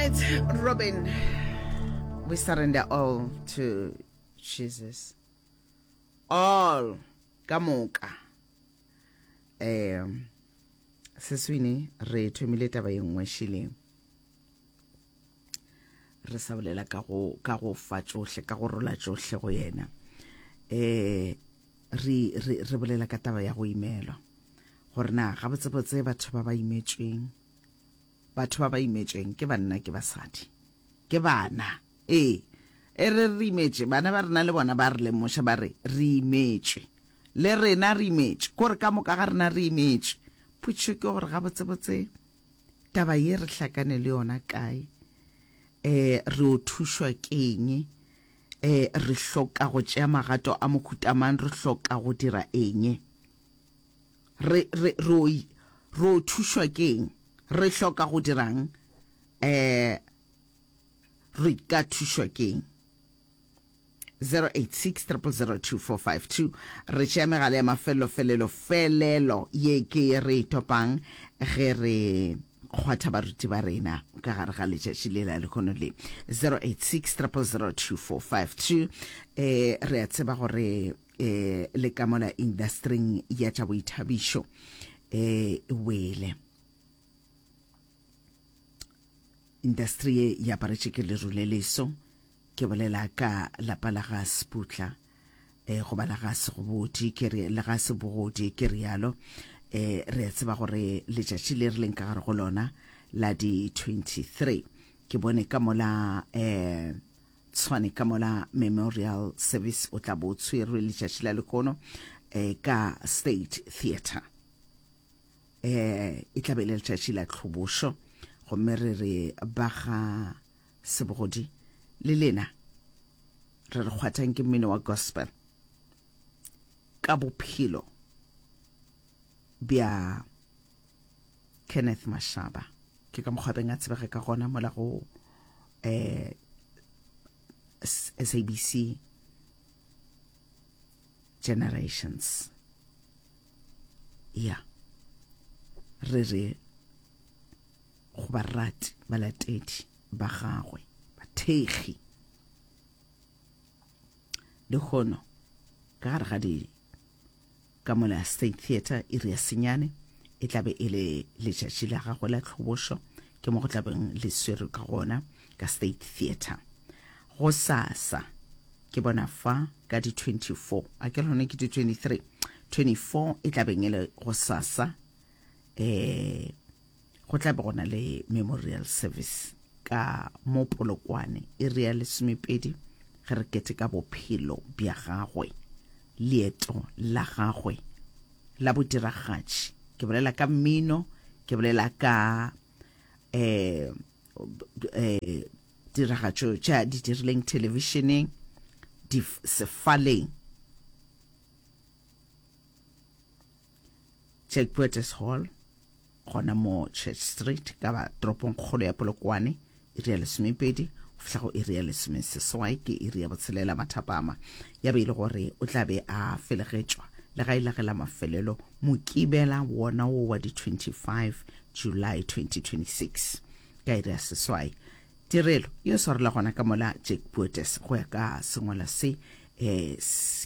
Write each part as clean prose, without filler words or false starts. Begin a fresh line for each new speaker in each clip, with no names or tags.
right, Robin. We surrender all to Jesus. All ka moka. Um seswini re thomile taba ye nngwe šileng. Re sa bolela ka go ka go fa tšohle ka go rola tšohle go yena. Eh re re re bolela ka taba ya go imelwa. Gore na gabotsebotse batho ba ba imetšweng Batho ba ba imetšweng ke banna ke basadi ke bana. Ee, e re re imetše, bana ba rena le bona ba re lemoša ba re re imetšwe. Le rena re imetšwe, ko re ka moka ga rena re imetšwe. Potšišo ke gore gabotsebotse taba ye re hlakane le yona kae? E, re o thušwa keng? E, re hloka go tšea magato a mohuta mang? Re hloka go dira eng? Re, re, re o, re o thušwa ke'ng? Re hloka go dira'ng? Eh, re ka thušwa ke'ng? 086 000 2452 Re tšea megala ya mafelelo felelo felelo ye ke ye re e topang ge re kgwatha baruti ba rena ka gare ga letšatši le la lehono le 086 000 2452 eh re a tseba gore e le ka mola indastering ya tša boithabišo e wele. Indastri ye e aparetše ke leru le leso, ke bolela ka lapa la ga Seputla e goba la ga Segobodi ke re le ga Sebogodi ke rialo. E re a tseba gore letšatši le re leng ka gare go lona la di 23 ke bone ka mola eh Tshwane ka mola Memorial Service o tla bo o tshwerwe letšatši la lehono eh, ka State Theatre. Eh, e tla be e le letšatši la tlhobošo gomme re re ba ga Sebogodi le lena re re kgwathang ke mmino wa gospel ka bophelo bja Kenneth Mashaba. Ke ka mokgwa beng a tsebega ka gona mola go eh, SABC Generations. Ya. Re re go barati balatedi ba gagwe bathekgi lehono ka gare ga di Ka mola State Theatre, iri ya senyane e tla be e le letšatši la gagwe la tlhobošo, ke mo go tla beng le swerwe ka gona ka State Theatre. Gosasa ke bona fa ka di 24, a ke lone ke di 23, 24 e tla beng e le gosasa, eh go tla be go na le memorial service ka mo Polokwane iri ya lesomepedi ge re keteka bophelo bja gagwe. leeto la gagwe la bodiragatši. Ke bolela ka mmino, ke bolela ka eh eh tiragatšo tša di dirileng thelebišeneng, di sefaleng. Jack Poeters Hall gona mo Church Street ka ba toropong kgolo ya Polokwane iri ya lesomepedi go fihla go iri ya lesomeseswai ke iri ya botshelela mathapama ya be e le gore o tla be a felegetšwa le ga e la ge la mafelelo mokibela wona wo wa di 25 July 2026 ka iri ya seswai tirelo yo swarela gona ka mola Jack Poetes go ya ka sengwala se eh,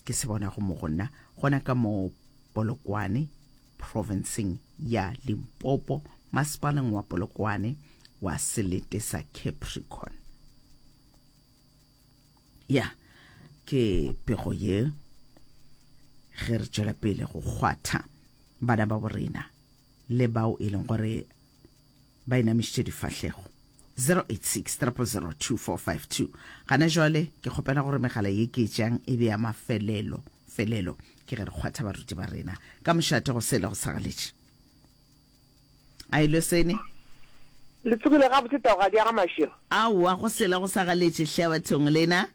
ke se bonago mo go nna gona ka mo Polokwane profenseng ya Limpopo, masepaleng wa Polokwane wa selete sa Capricorn. Ya, ke pego ye ge re tšwela pele go kgwatha bana ba borena le bao e leng gore ba inamišitše difahlego 086 000 2452 gana jwale ke kgopela gore megala ye ke e tšeang e be ya mafelelo felelo ke ge re kgwatha baruti ba rena ka mošate go sele go sagaletše a ile sene
Le tsogile gabotse taogadi ya ga Mašego?
Aowa, go sele go sagaletše hle bathong lena.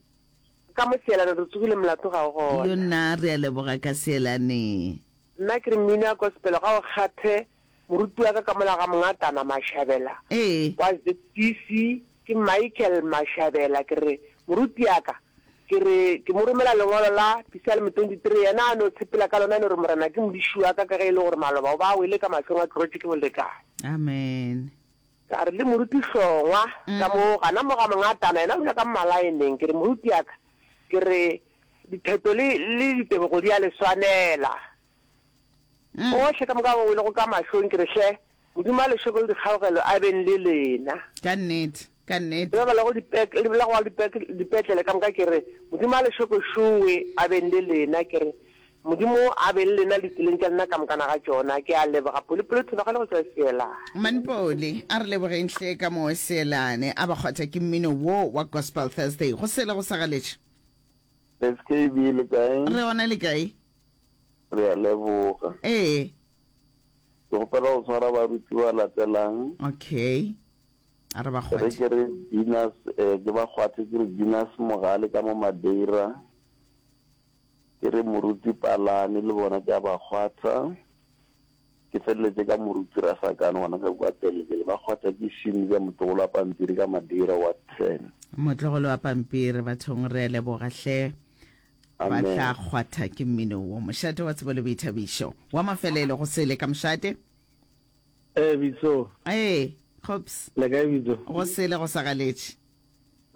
Ka mo Seelane re tsogile molato ga o gona.
Yo nna re a leboga ka Seelane.
Nna ke re mmino ya gospel ga o kgathe Moruti wa ka ka mola ga Mongatana Mashabela
Ee.
wa ZCC ke Michael Mashabela. Ke re, Moruti ya ka, ke re ke mo romela lengwalo la Psalm 23, yena a no tshepela ka lona, a no re, Morena ke modiši wa ka, ka ge e le gore maloba o ba a wele ka mahlong a tlogetše ke bolekane.
Amen.
Ka re le moruti Hlongwa ka mo gana mo ga Mongatana, yena o dula ka Mmalaeneng. Ke re, Moruti ya ka, ke re ditheto le, le ditebogo di a le swanela. Bohle ka moka ba welego ka mahlong, ke re, hle, Modimo a le šoko le dikgaogelo a beng le lena.
Ka nnete, ka nnete.
Le ba ba lego dipek, le ba lego dipek, dipetlele ka moka, ke re, Modimo a le šoko šowe a beng le lena. Ke re, Modimo a be le lena ditseleng tša lena ka mokana ga tšona. Ke a leboga. Polipoli Thobagale go tšwa Seelane.
Manpoli, a re lebogeng hle ka mo Seelane. A ba kgwatha ke mmino wo wa Gospel Thursday. Go sele go sa galetše.
SKB le kae?
Re gona le kae?
Re a leboga.
Ee.
Ke kgopela go tshwara baruti ba latelang.
Okay. A re ba
Re
kgwathe.
ke re Dinas eh, ke ba kgwathe ke re Dinas Mogale ka mo Madeira. Ke re Moruti Palane le bona ke a ba kgwatha. Ke feleletše ka Moruti Rasakane gona ka kua Pele-pele. Ba kgwatha ke Shinza motlogolo wa pampiri ka Madeira wa 10.
Motlogolo wa pampiri bathong re a leboga hle. Ba
Amen.
tla kgwatha ke mmino wo. Mošate wa tsebo le boithabišo. Wa mafelelo go sele ka mošate.
Ee, Bitso.
Ee, Kgops.
Le kae Bitso?
Go sele go sa galetše.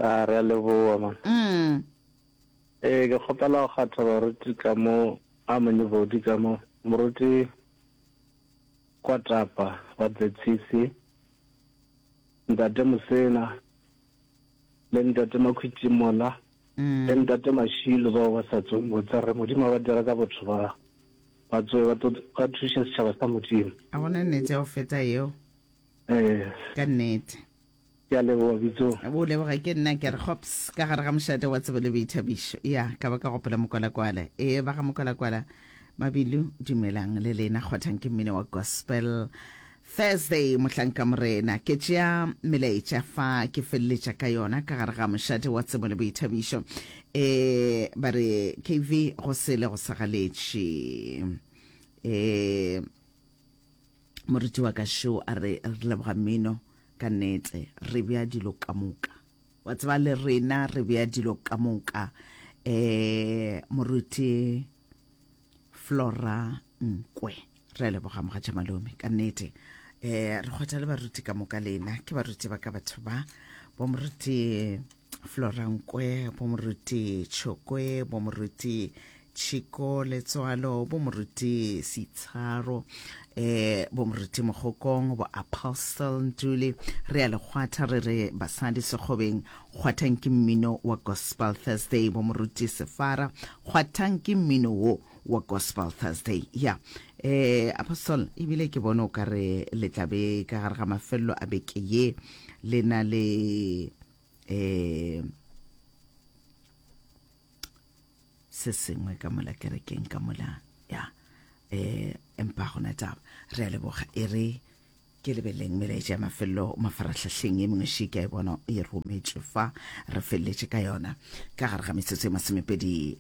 A re a leboa man.
Mm.
Ee, ke kgopela go kgatha baruti ka mo a Monyebodi ka mo, moruti Kwatapa wa ZCC, Ntate Mosena le Ntate Makhwitimola le Ntate Mashilo bao ba sa tsoeng botsa re Modimo a ba dira ka botho ba ba tsoe ba tlo ba thuše setšhaba sa Modimo.
A gona nnete ya go feta yeo.
Ee.
Ka nnete.
Ke a leboga Bitso.
O leboga ke nna ke re gops ka gare ga mošate wa tsebo le boithabišo. Ya, ka ba ka gopola mokwalakwala. Ee, ba ga mokwalakwala Mabilu, dumelang le lena kgwathang ke mmino wa gospel. Thursday mohlanka morena ke tšea melaetša fa ke feleletša ka yona ka gare ga mošate wa tsebo le boithabišo. E ba re KV go sele go sa galetše. E Moruti wa ka šo a re, Re leboga mmino, ka nnete. Re bea dilo ka moka. Wa tseba, le rena re bea dilo ka moka. Eh, Moruti Flora Nkwe. Re a leboga, mogatša malome, ka nnete. Eh, re kgotha le baruti ka moka lena. Ke baruti ba ka batho ba. Bo moruti Flora Nkwe, bo moruti Tšhokwe, bo moruti Tšhiko Letswalo, bo moruti Sitsharo, eh, bo moruti Mogokong, bo Apostle Ntuli. Re a le kgwatha re re basadi sekgobeng, kgwathang ke mmino wa Gospel Thursday, bo moruti Sefara, kgwathang ke mmino wo wa Gospel Thursday. Ya, eh, Apostle, ebile ke bone o ka re le tla be ka gare ga mafelelo a beke ye le na le eh se sengwe ka mola kerekeng ka mola ya eh empa gona taba re a leboga e re ke lebeleng melaetša ya mafelelo mafarahlahleng ye mengwe še ke a e bona e rometšwe fa re feleletše ka yona ka gare ga metsotso e masomepedi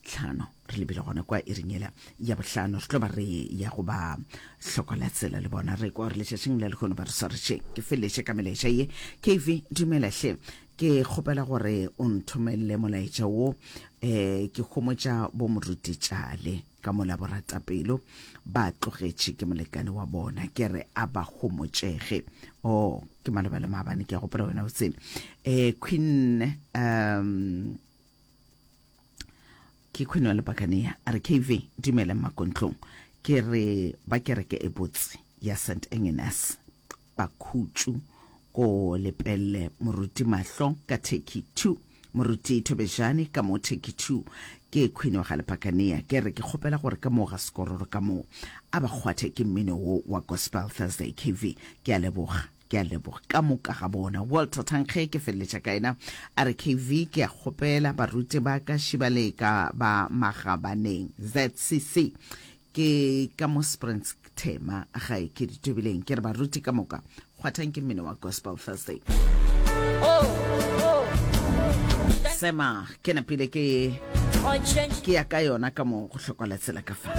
tlhano re lebile gona kwa iring yela ya bohlano re tlo ba re ya go ba hlokola tsela le bona re kwa gore letšatšing la lehono ba re swaretšeng ke feleletše ka melaetša ye kv dumela hle ke kgopela gore o nthomelele molaetša wo um ke homotša bo moruti tšale ka mola boratapelo ba tlogetše ke molekane wa bona ke re a ba homotšege o oh, ke maloba le maabane ke a gopola wena o tsene um queen um Ke Queen wa Lepakania a re KV dumela mmakontlong ke re ba kereke e botse ya St Agnes Bakhutšu ko Lepelle moruti Mahlo ka Turkey 2 moruti Thobejane ka mo Turkey 2 ke Queen wa ga Lepakania ke re ke kgopela gore ka mo ga Sekororo ka mo a ba kgwathe ke mmino wo wa Gospel Thursday KV ke a leboga. Ke a leboga ka moka ga bona. Walter Thankge ke feleletša ka yena a re KV ke a kgopela baruti ba ka Šibaleka ba Magabaneng ZCC ke ka mo Springs Thema gae ke ditobileng ke re baruti ka moka kgwathang ke mmino wa Gospel Thursday. Sema ke napile ke ke ya ka yona ka mo go hlokola tsela ka fa.